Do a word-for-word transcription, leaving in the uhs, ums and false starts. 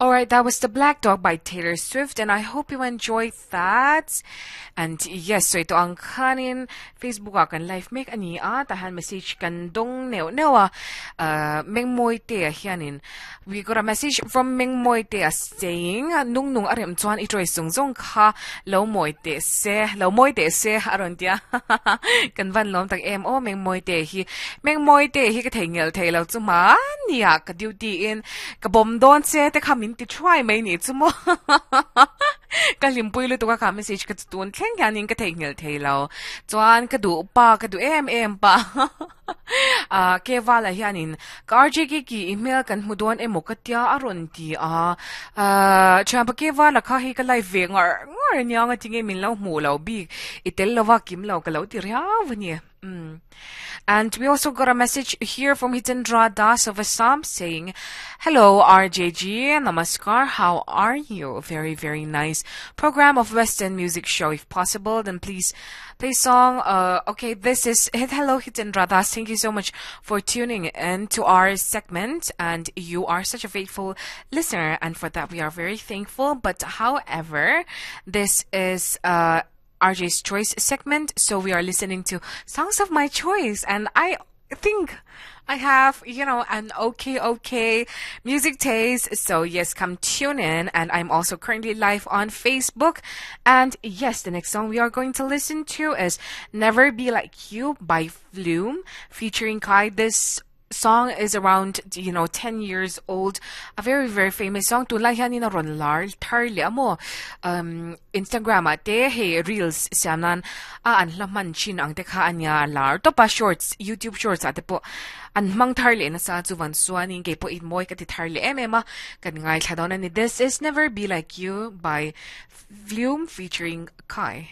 Alright, that was The Black Dog by Taylor Swift, and I hope you enjoyed that. And yes, so ito ang kanin Facebook a kan live mek ani a tahan message kan dong neo neo a uh, meng moi te a hianin. We got a message from Meng Moi te a saying nung nung arem chuan i troi sung zong kha lo moi te se lo moi te se aron tia kan van lom tak em o Meng Moi te hi Meng Moi te hi ka thei ngel thei lo chu ma nia ka duty in ka bom don se te kha min ti try mai ni chu mo ka limpui lu tu ka ka message ka tun thleng hianin ka thei ngel thei lo chuan ka du pa ka du em em pa a ke wala hianin ka R J ki ki email kan hmu dawn emaw ka tia aron ti a a chuan pa ke wala kha hi ka live ve ngar ngar nia nga tinge min lo hmu lo bi itel lova kim lo ka lo ti riau ni. Mm. And we also got a message here from Hitendra Das of Assam saying, Hello, R J G, namaskar, how are you? Very, very nice program of Western music show. If possible, then please play song. Uh, okay, this is, hello, Hitendra Das. Thank you so much for tuning in to our segment. And you are such a faithful listener. And for that, we are very thankful. But however, this is, uh, R J's Choice segment, so we are listening to songs of my choice, and I think I have, you know, an okay, okay music taste. So yes, come tune in. And I'm also currently live on Facebook. And yes, the next song we are going to listen to is Never Be Like You by Flume featuring Kai. This song is around, you know, ten years old. A very, very famous song. Tunlai hian in a ron lar thar le amo. Um, Instagram a te he reels siamnan a an hla man chin ang te kha ania lar topa shorts, YouTube shorts ate po an mang thar le na sa chu van suanin ke po in moi ka ti thar le em em a kan ngai thla dawn ani. This is Never Be Like You by Flume featuring Kai.